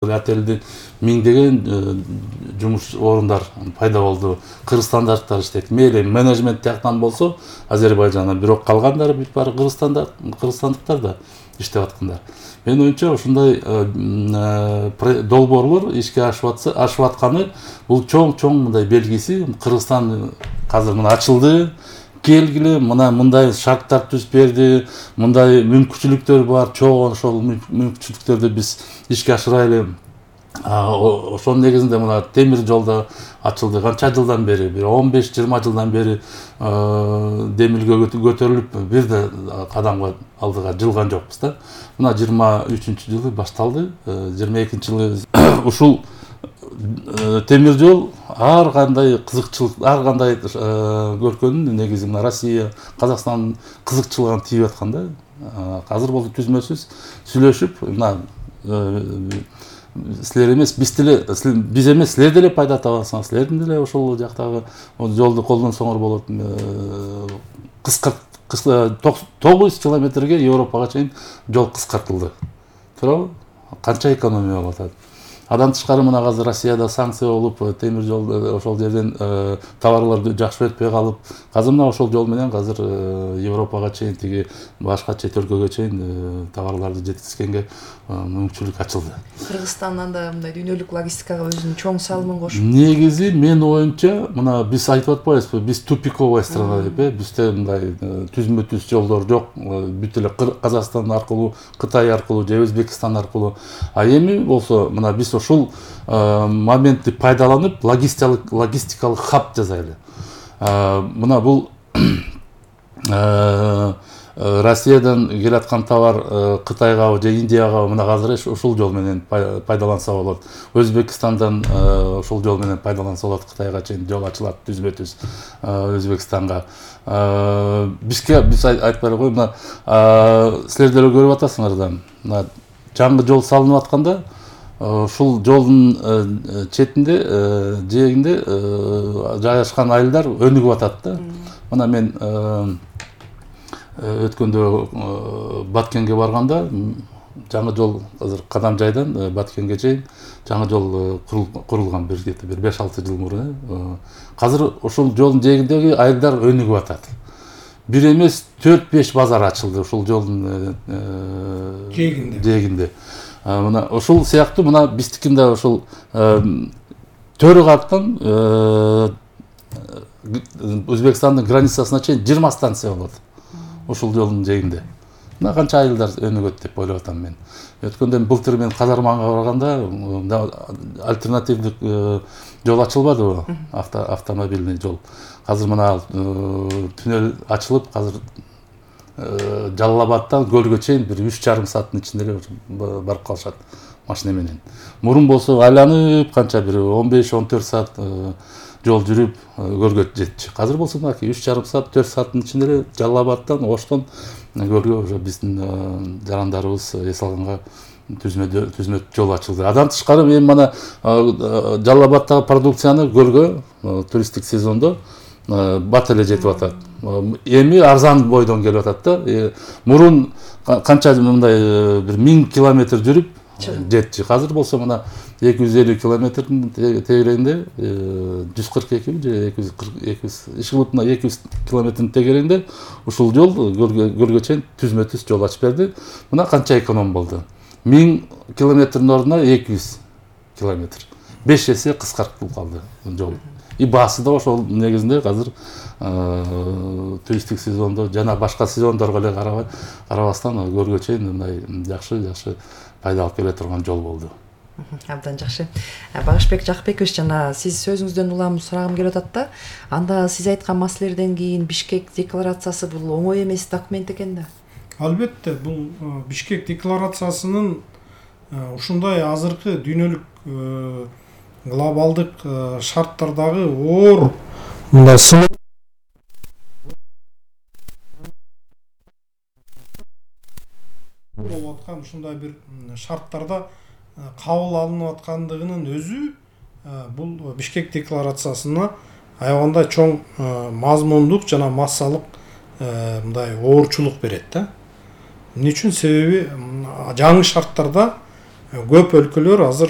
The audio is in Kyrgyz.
Отелде миңдеген жумуш орундар пайда болду. Кыргызстандаштар иштейт. Мейли менеджмент жактан болсо Азербайжандан, бирок калгандары бүт баары кыргызстандыктар да иштеп аткандар. Менин оюмча ушундай долбоорлор ишке ашып атканы бул чоң мындай белгиси. Кыргызстан азыр мына ачылды. Келгиле, мындай шарттар түзүп берди, мындай мүмкүнчүлүктөр бар, чоң ошол мүмкүнчүлүктөрдү биз ишке ашырайлы. Ошонун негизинде мына темир жол да ачылды. Канча жылдан бери, 15-20 жылдан бери демилге көтөрүлүп, бир да кадамга алдыга жылган жокпуз да. Мына 23-жылы башталды, 22-жылы ушул темир жол ар кандай кызыкчылык, ар кандай көркөнүн негизи мына Россия, Казакстан кызыкчылыгын тийип аткан да. Азыр болду түзмөсүз сүйлөшүп, мына силер эмес, биз эмес, силер деле пайда табасыңар, силердин деле ошол жактагы жолду колдонсоңор болот. 9 километрге Европага чейин жол кыскартылды. Туурабы? Канча экономия болуп атат. Адан тышкары мына азыр Россияда санкция болуп, темир жол ошол жерден товарлар жакшы өтпөй калып, азыр мына ошол жол менен азыр Европага чейин, тиги башка чет өлкөгө чейин товарларды жеткизгенге мүмкүнчүлүк ачылды. Кыргызстандан да мындай дүйнөлүк логистикага өзүнүн чоң салымын кошуп. Негизи менин оюмча, мына биз айтып атпайбызбы, биз тупиковая страна деп, бизде мындай түзмө-түз жолдор жок, бүт эле Казакстан аркылуу, Кытай аркылуу же Өзбекстан аркылуу. А эми болсо мына биз ушул моментти пайдаланып, логистикалык хаб жасайлы. Мына бул Россиядан келаткан товар Кытайга же Индияга мына азыр ушул жол менен пайдаланса болот. Өзбекстандан ушул жол менен пайдаланса болот. Кытайга чейин жол ачылат түзмө-түз Өзбекстанга. Биз айтпай койгой, мына силер деле көрүп атасыңар да. Мына жаңы жол салынып атканда ушул жолдун четинде, жээгинде жайгашкан айылдар өнүгүп атат да. Мына мен өткөндө Баткенге барганда жаңы жол азыр Кадам жайдан Баткенге чейин жаңы жол курулган бир 5-6 жыл мурун. Азыр ушул жолдун жээгиндеги айылдар өнүгүп атат. Бир эмес 4-5 базар ачылды ушул жолдун жээгинде. Мына ушул сыяктуу мына биздикинде ушул Төрү каттан Өзбекстандын границасына чейин 20 станция болот. Ушул жолдун жээгинде. Мына канча айылдар өнүгөт деп ойлоп атам мен. Өткөндөн былтыр мен Казарманга барганда альтернативдик жол ачылбадыбы? Автомобильный жол. Азыр мына түнөл ачылып, азыр Жалал Абадтан Көлгө чейин бир 3,5 сааттын ичинде эле барып калышат машина менен. Мурун болсо айланып канча бир 15-14 саат жол жүрүп Көлгө жетчү. Азыр болсо мынакей 3,5 саат, 4 сааттын ичинде эле Жалал Абадтан, Оштон Көлгө уже биздин жарандарыбыз эс алганга түзмө жол ачылды. Адан тышкары мен мына Жалал Абадтагы продукцияны Көлгө туристтик сезондо бат эле жетип атат. Эми арзан бойдон келип атат да. Мурун канча мындай бир 1000 километр жүрүп жетчи. Азыр болсо мына 250 километрдин тегерегинде 142 же 200 ишкылып мына 200 километрдин тегерегинде ушул жол Көлгө чейин түзмө-түз жол ачып берди. Мына канча эконом болду. 1000 километрдин ордуна 200 километр. 5 эсе кыскартылып калды жол. И баасы да ошол негизинде азыр туристтик сезондо жана башка сезондорго эле карабастан Көлгө чейин мындай жакшы пайда алып келе турган жол болду. Абдан жакшы. Багышбек Жакбекович, жана сиз сөзүңүздөн улам сурагым келип атат да. Анда сиз айткан маселелерден кийин Бишкек декларациясы бул оңой эмес документ экен да. Албетте, бул Бишкек декларациясынын ушундай азыркы дүйнөлүк глобалдык шарттардагы оор мындай болуп аткан ушундай бир шарттарда кабыл алынып аткандыгынын өзү бул Бишкек декларациясына аябагандай чоң мазмундук жана массалык мындай оорчулук берет да. Эмне үчүн? Себеби жаңы шарттарда көп өлкөлөр азыр